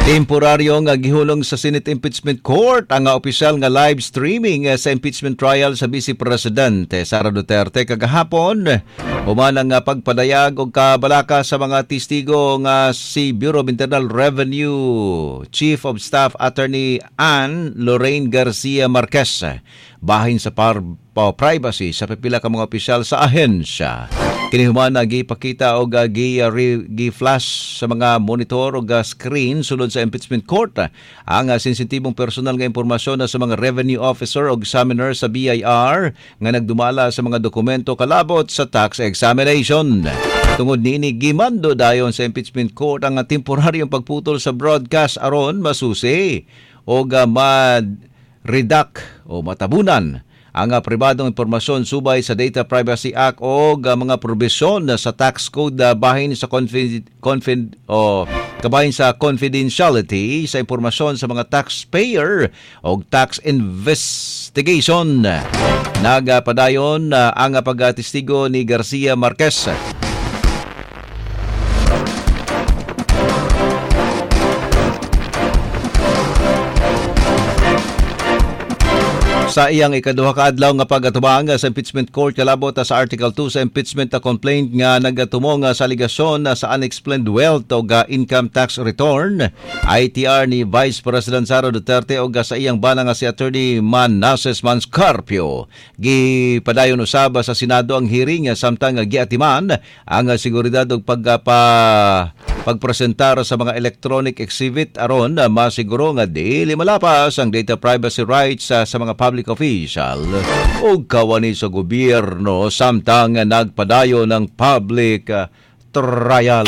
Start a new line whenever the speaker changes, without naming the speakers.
Temporaryo nga gihulong sa Senate Impeachment Court ang opisyal nga live streaming sa impeachment trial sa Vice Presidente Sara Duterte kagahapon. Human ang pagpadayag og kabalaka sa mga testigo nga si Bureau of Internal Revenue Chief of Staff Attorney Ann Lorraine Garcia Marquez bahin sa privacy sa pipila ka mga opisyal sa ahensya. Kini human gipakita og gi-flash sa mga monitor og screen sulod sa impeachment court ang sensitibong personal nga impormasyon sa mga revenue officer og examiner sa BIR nga nagdumala sa mga dokumento kalabot sa tax examination. Tungod niini, gimando dayon sa impeachment court ang temporaryong pagputol sa broadcast aron masusi og ma-redact o matabunan ang pribadong impormasyon subay sa Data Privacy Act o mga probisyon sa tax code bahin sa kabahin sa confidentiality sa impormasyon sa mga taxpayer o tax investigation. Nagpadayon ang pagtestigo ni Garcia Marquez. Sa iyang ikaduha ka adlaw nga pagatubang sa impeachment court kalabot sa Article 2 sa impeachment complaint nga nagatumong sa aligasyon sa unexplained wealth og income tax return ITR ni Vice President Sara Duterte og sa iyang bana nga si Attorney Manases Manscarpio. Gipadayon usab sa Senado ang hearing samtang giatiman ang seguridad og pagpresentar sa mga electronic exhibit aron masiguro nga dili malapas ang data privacy rights sa mga public official o kawani sa gobyerno samtang nagpadayon ng public trial.